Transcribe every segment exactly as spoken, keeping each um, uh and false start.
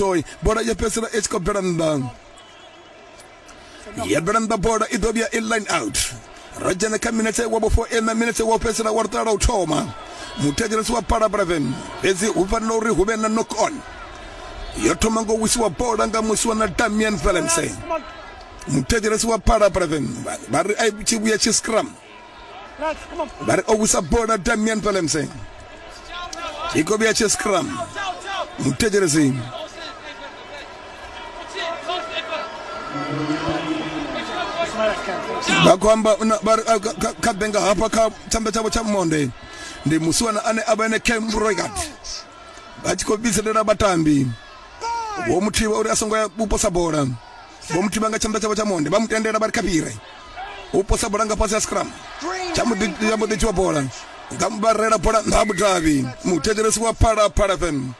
Toy bola ya fhedzisela i tshi khou bvela nnḓa ya bvela nnḓa bola i ḓo vhuya i line out ro dzhena kha minetse wa vhufo ina minetse wa fhedzisela wa luṱa lwa u thoma muthetshelesi wa Phalaphala F M fhedzi hu fanela uri hu vhe na knock on yo thoma ngo wisiwa bola nga musi wa na Damian Valence muthetshelesi wa Phalaphala F M vha ri a tshi vhuya tshi scrum vha ri o wisa bola Damian Valence i khou vhuya tshi scrum muthetshelesi vha khou amba vha ri kha benga hafha kha tshanḓa tshavho tsha monde ndi musiwana ane a vha ene Cam Roigard vha tshi khou vhidzelela vhatambi vho muthivha uri a songo ya u posa bola vho muthivha nga tshanḓa tshavho tsha monde vha mu tendela vha ri kha fhire u posa bola nga fhasi ha scrum tsha mbo ḓi dzhiwa bola nga vha rela bola nṱha ha mudavhi muthetshelesi wa Phalaphala F M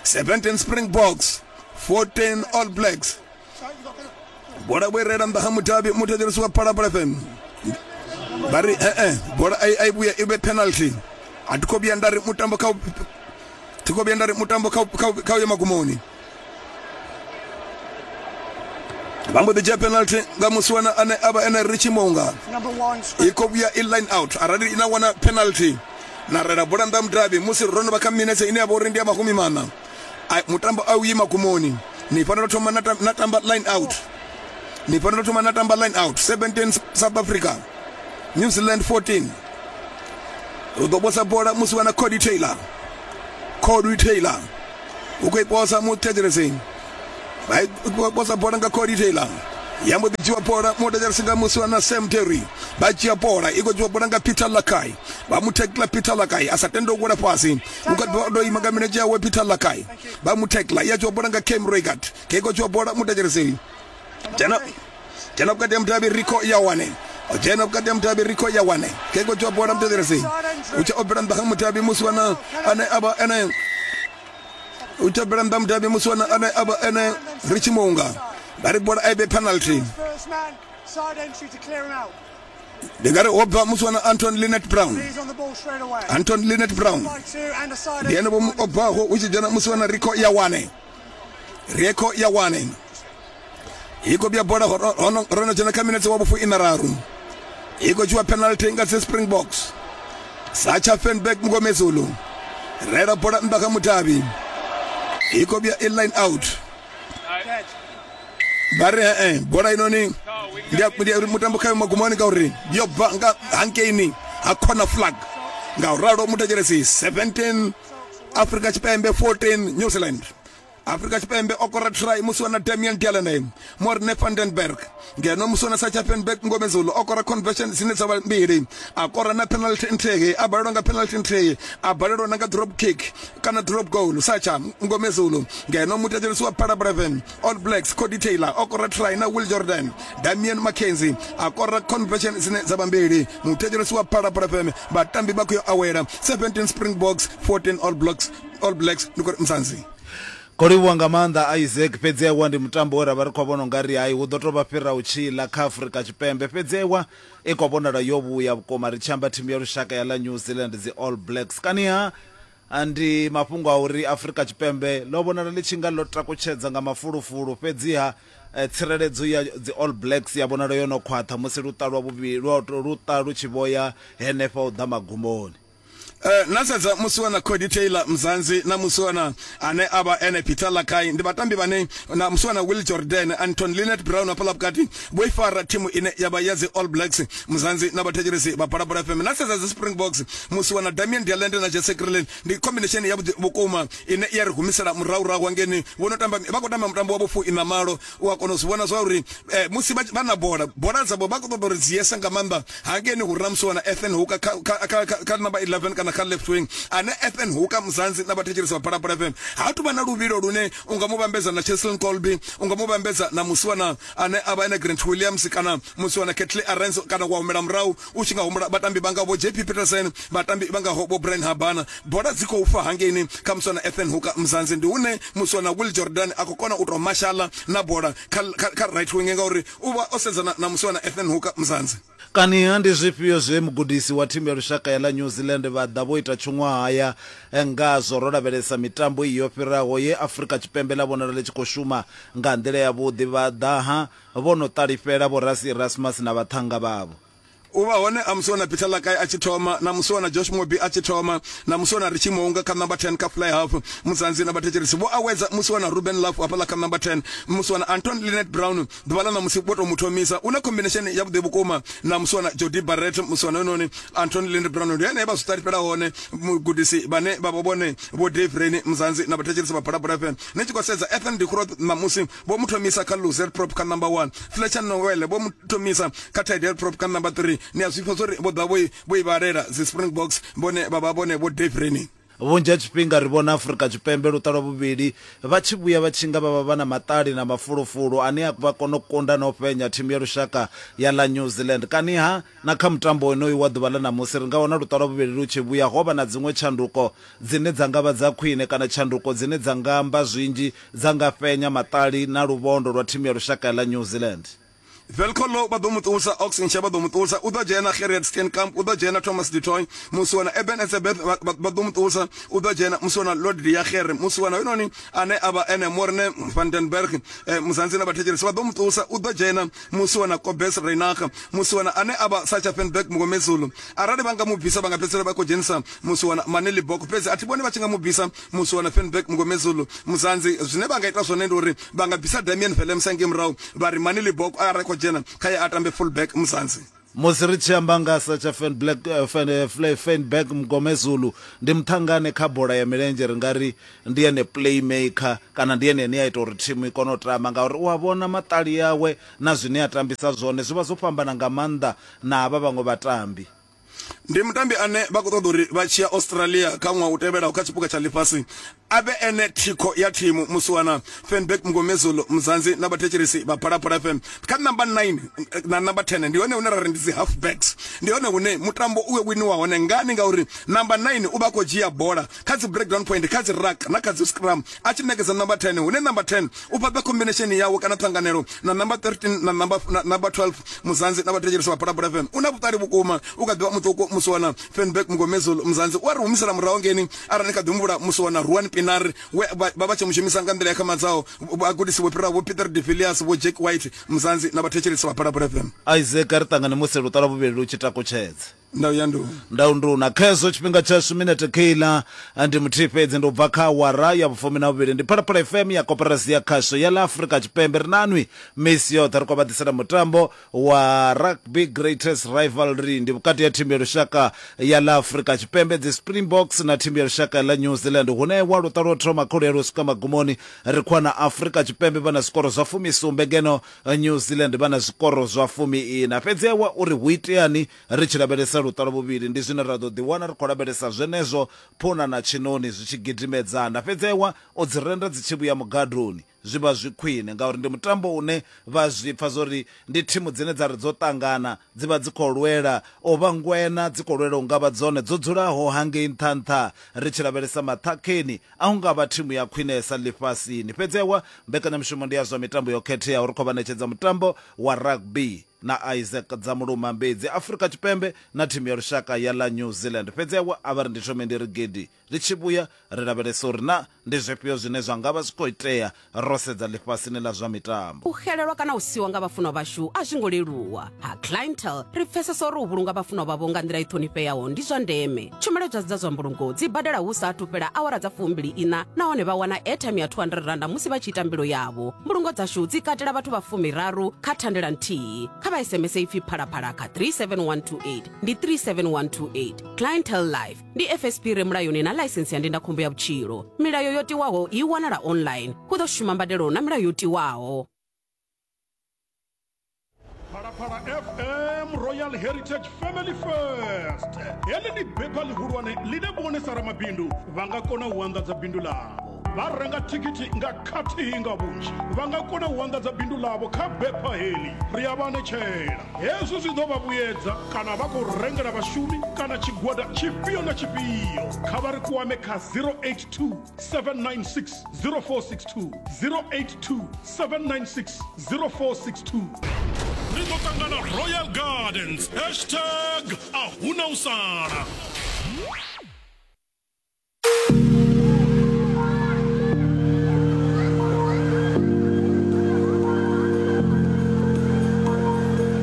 seventeen Springboks fourteen All Blacks bola vho i rela nnḓa ha mudavhi muthetshelesi wa Phalaphala F M vha ri ee bola a i vhuya i vhe penalty a thi khou vhuya nda ri mutambo kha thi khou vhuya nda ri mutambo kha kha uye magumoni vha mbo ḓi dzhia penalty nga musiwana ane a vha ene Richie Mounga i khou vhuya i line out arali na wana penalty na rela bola nnḓa mudavhi musi ro no vha kha minetse ine ya vha uri ndi ya mahumi maṋa mutambo a u yi magumoni ni fanela u thoma na tamba line out ni fanela u thoma na tamba line out seventeen South Africa New Zealand fourteen u ḓo posa bola musi wana Cody Taylor Cody Taylor u khou i posa muthetshelesi vha i posa bola nga Cody Taylor ya mbo ḓi dzhiwa bola muthetshelesi nga musi wana Sam Terry vha dzhia bola i khou dzhiwa bola nga Peter Lakai vha mu tackla Peter Lakai a sa tende u wela fhasi u kha ḓi ḓo ima nga milenzhe yawe Peter Lakai vha mu tackla ya dzhiwa bola nga Cam Roigard ke khou dzhiwa bola muthetshelesi dzhena dzhena vhukati ha mudavhi Rico Yawane o dzhena vhukati ha mudavhi Rico Yawane ke khou dzhiwa bola muthetshelesi u tsha o bvela nnḓa ha mudavhi musi wana ane a vha ene u tsha bvela nnḓa mudavhi musi wana ane a vha ene Richie Mounga vha ri bola a i vhe penalty ndi nga ri ho bva musi wana Anton Lynette Brown Anton Lynette Brown ndi ene vho o bvaho hu tshi dzhena musi wana Rico Yawane Rico Yawane i khou vhuya bola ro no dzhena kha minetse wa vhufu ina raru i khou dzhiwa penalty nga dzi Springboks Sacha Fenberg Mngomezulu rela bola nnḓa kha mudavhi i khou vhuya i line out vha ri ee bola inoni ndi uri mutambo khayo magumoni ngauri yo bva nga hankeini ha corner flag nga u ralo muthetshelesi seventeen Afrika Tshipembe fourteen New Zealand Afrika Tshipembe o kora try musi wana Damian Delaney Morne van den Berg ngeno musi wana Sacha Fenberg Ngomezulu o kora conversion dzine dza vha mbili a kora na penalty nthihi a balelwa nga penalty nthihi a balelwa na nga drop kick kana drop goal Sacha Ngomezulu ngeno muthetshelesi wa Phalaphala F M All Blacks Cody Taylor o kora try na Will Jordan Damian McKenzie a kora conversion dzine dza vha mbili muthetshelesi wa Phalaphala F M vhatambi vha khou yo awela seventeen Springboks fourteen All Blacks All Blacks ndi khou ri Mzansi. Kho livhuwa nga maanḓa Isaac fhedzi aiwa ndi mutambo we ra vha ri khou vhona ungari hai hu ḓo tou vha fhira u tshila kha Afrika Tshipembe fhedzi aiwa i khou vhonala yo vhuya vhukuma ri tshi amba thimu ya lushaka ya ḽa New Zealand dzi All Blacks kaniha ndi mafhungo a uri Afrika Tshipembe ḽo vhonala ḽi tshi nga ḽo takutshedza nga mafulufulu fhedziha tsireledzo ya dzi All Blacks ya vhonala yo no khwaṱha musi luṱa lwa vhuvhili luṱa lu tshi vhoya henefha u ḓa magumoni. Uh, na sedza musi wana Cody Taylor Mzansi na musi wana ane a vha ene Peter Lakai ndi vhatambi vhane na musi wana Will Jordan Anton Lynette Brown hafhaḽa vhukati vho i fara thimu ine ya vha ya dzi All Blacks Mzansi na vhathetshelesi vha Phalaphala F M na sedza dzi Springboks musi wana Damian de Allende na Jesse Kriel ndi combination ya vhuḓi vhukuma ine ya ri humisela murahu hangeni vho no tamba vha khou tamba mutambo wa vhufu ina malo u a kona u zwi vhona zwa uri eh, musi vha na bola bola dzavho vha khou ṱoḓa uri dzi yese nga maanḓa hangeni hu re na musi wana Ethan Hooker kha, kha, kha, kha, kha number eleven kana kha left wing ane Ethan Hooker Mzansi na vhathetshelesi vha Phalaphala F M ha tu vha na luvhilo lune u nga mu vhambedza na Cheslin Kolbe u nga mu vhambedza na musiwana ane a vha ene Grant Williams kana musiwana Ketley Arenzo kana wa humela murahu u tshi nga humbula vhatambi vha nga vho J P Peterson vhatambi vha ngaho vho Brian Habana bola dzi khou fa hangeini kha musiwana Ethan Hooker Mzansi ndi hune musiwana Will Jordan a khou kona u tou mashala na bola kha, kha, kha right wing ngauri u vha o sedzana na musiwana Ethan Hooker Mzansi. Kaniha ndi zwifhio zwe mugudisi wa thimu ya lushaka ya ḽa New Zealand vha ḓa ḓa vho ita tshuṅwahaya ngazwo ro lavhelesa mitambo iyo fhiraho ye Afrika Tshipembe ḽa vhonala ḽi tshi khou shuma nga nḓila yavhuḓi. Vha ḓa ha vho no ṱalifhela vho Rassie Erasmus na vhaṱhannga vhavho. U vha hone a musiwana Peter Lakai a tshi thoma, na musiwana Josh Mobi a tshi thoma, na musiwana Richie Mounga kha number ten kha fly half. Muzanzi na vhathetshelesi vho awedza musiwana Ruben Love hafhaḽa kha number ten, musiwana Anton Linet Brown ḓuvha ḽa ṋamusi vho tou mu thomisa. U na combination ya vhuḓi vhukuma na musiwana Jody Barrett. Musiwana hoyunoni Anton Linet Brown ndi ene vha zwi ṱalifhela hone mugudisi vhane vha vha vhone vho Dave Rainey. Muzanzi na vhathetshelesi vha Phalaphala F M, ni tshi khou sedza Ethan de Groot ṋamusi vho mu thomisa kha looser prop kha number one, Fletcher Noel vho mu thomisa kha tight prop kha number three. Ni a zwi pfa uri vho ḓa vho i vhalela dzi Springboks vhone vha vha vhone vho Dave Rainey. Vhunzhi ha tshifhinga ri vhona Afrika Tshipembe luṱa lwa vhuvhili vha tshi vhuya vha tshi nga vha vha vha na maṱali na mafulufulu ane a vha kona u kunda na u fhenya thimu ya lushaka ya ḽa New Zealand. Kaniha na kha mutambo wonoyu wa ḓuvha ḽa ṋamusi ri nga wana luṱa lwa vhuvhili lu tshi vhuya ho vha na dziṅwe tshanduko dzine dza nga vha dza khwine kana tshanduko dzine dza nga amba zwinzhi dza nga fhenya maṱali na luvhondo lwa thimu ya lushaka ya ḽa New Zealand. Velkolo vha ḓo mu ṱusa, Ox Nche vha ḓo mu ṱusa, u ḓo dzhena Gerrit Steenkamp, u ḓo dzhena Thomas du Toit, musiwana Eben Etzebeth vha ḓo mu ṱusa, u ḓo dzhena musiwana Lord Diagere, musiwana hoyunoni ane a vha ene Morne van den Berg, Muzanzi na vhathetshelesi vha ḓo mu ṱusa, u ḓo dzhena musiwana Kobes Reinach, musiwana ane a vha Sacha Fenberg Mngomezulu. Arali vha nga mu bvisa vha nga fhedzisela vha khou dzhenisa musiwana Maneli Bok, fhedzi a thi vhoni vha tshi nga mu bvisa musiwana Fenberg Mngomezulu. Muzanzi zwine vha nga ita zwone ndi uri vha nga bvisa Damien Willemse ngei murahu vha ri Maneli Bok arali khou dzhena kha ye a tambe fullback. Muzanzi musi ri tshi amba nga Sacha Fenberg Fenberg Mngomezulu ndi muṱhangane kha bola ya milenzhe, ri nga ri ndi ene playmaker kana ndi ene ane a ita uri thimu i kone u tamba, ngauri u a vhona maṱali yawe na zwine a tambisa zwone zwi vha zwo fhambana nga maanḓa na havha vhaṅwe vhatambi. Ndi mutambi ane vha khou ṱoḓa uri vha tshi ya Australia kha ṅwaha u tevhelaho kha tshipuka tsha ḽifhasi a vhe ene thikho ya thimu. Musiwana Fenberg Mngomezulu. Muzanzi na vhathetshelesi vha Phalaphala F M, kha number nine na number ten ndi hone hune ra ri ndi dzi halfbacks, ndi hone hune mutambo u winiwa hone. Ngani? Ngauri number nine u vha khou dzhia bola kha dzi breakdown point, kha dzi ruck na kha dzi scrum, a tshi ṋekedza number ten, hune number ten u fhaṱa combination yawe kana ṱhanganelo na number thirteen na number na number twelve. Muzanzi na vhathetshelesi vha Phalaphala F M, u na vhuṱali vhukuma, u kha ḓivha muṱuku musiwana Fenberg Mngomezulu. Muzanzi u a ri humisela murahu ngeni arali ni kha ḓi humbula musiwana Ruan Pienaar we vha vha tshi mu shumisa nga nḓila ya khamadzaho vhagudisi vho fhiraho vho Peter de Villiers, vho Jack White. Muzanzi na vhathetshelesi vha Phalaphala F M. Isaac, ri ṱangane musi luṱa lwa vhuvhili lu tshi takutshedza. Ndau ya ndu ndau nduna khezwo tshifhinga tshashu minete kheila ndi muthihi fhedzi, ndi u bva kha awara ya vhufumi na vhuvhili. Ndi Phalaphala F M ya koporasi ya khasho ya ḽa Afrika Tshipembe. Ri nanwi misi yoṱhe ri khou vha ḓisela mutambo wa Rugby Greatest Rivalry, ndi vhukati ya thimu ya lushaka ya ḽa Afrika Tshipembe dzi Springboks na thimu ya lushaka ya ḽa New Zealand, hune wa luṱa lwo thoma kholo ya lwo swika magumoni ri khou wana Afrika Tshipembe vha na zwikoro zwa fumisumbe ngeno New Zealand vha na zwikoro zwa fumi ina. Fhedzi wa uri hu iteani ri tshi lavhelesa luṱa lwa vhuvhili ndi zwine ra ḓo ḓiwana ri khou lavhelesa zwenezwo phuna na tshinoni zwi tshi gidimedzana. Fhedzi ewa o dzi renda dzi tshi vhuya mugadoni zwi vha zwi khwine, ngauri ndi mutambo une vha zwi pfa zwori ndi thimu dzine dza ri dzo ṱangana dzi vha dzi khou lwela o vha ngwena, dzi khou lwela u nga vha dzone dzo dzulaho hangei nṱha nṱha. Ri tshi lavhelesa maṱhakheni a hu nga vha thimu ya khwinesa ḽifhasini. Fhedzi ewa mbekanyamushumo ndi ya zwa mitambo yo khetheaho, ri khou vha ṋetshedza mutambo wa rugby na Isaac Dzamuluma Mbedzi, Afrika Tshipembe na thimu ya lushaka ya ḽa New Zealand. Fhedzi ewa a vha ri ndi thome ndi ri gidi ri tshi vhuya ri lavhelesa uri na ndi zwifhio zwine zwa nga vha zwi khou itea ro sedza ḽifhasini ḽa zwa mitambo. U xelelwa kana u siwa nga vhafunwa vhashu a zwi ngo leluwa. Ha Clientele ri pfesesa uri u vhulunga vhafunwa vhavho nga nḓila i ṱhonifheaho ndi zwa ndeme. Tshumelo dza dza zwa mbulungo dzi badela hu sa athu fhela awara dza fumbili ina, nahone vha wana airtime ya two hundred rand musi vha tshi ita mbilo yavho. Mbulungo dzashu dzi katela vhathu vha fumiraru kha thandela nthihi. Kha vha S M S ipfi Phalaphala kha three seven one two eight ndi three seven one two eight. Clientele Life ndi F S P re mulayoni na ḽaisensi ya ndindakhombo ya vhutshilo. Milayo yo tiwaho i wanala online. Hu ḓo shuma mbadelo na milayo yo tiwaho. Phalaphala F M Royal Heritage Family First. Heḽi ndi bepha ḽihulwane ḽine vhone sa ramabindu vha nga kona u anḓadza bindu ḽavho. Vha renga thikhithi nga khathihi nga vhunzhi, vha nga kona u anḓadza bindu ḽavho kha bepha heḽi. Ri a vha anetshela hezwi zwi ḓo vha vhuyedza kana vha khou rengela vhashumi kana tshigwada tshifhio na tshifhio. Kha vha ri kwame kha zero eight two seven nine six zero four six two, zero eight two seven nine six zero four six two. Ri ḓo ṱangana Royal Gardens, hashtag a huna u sala.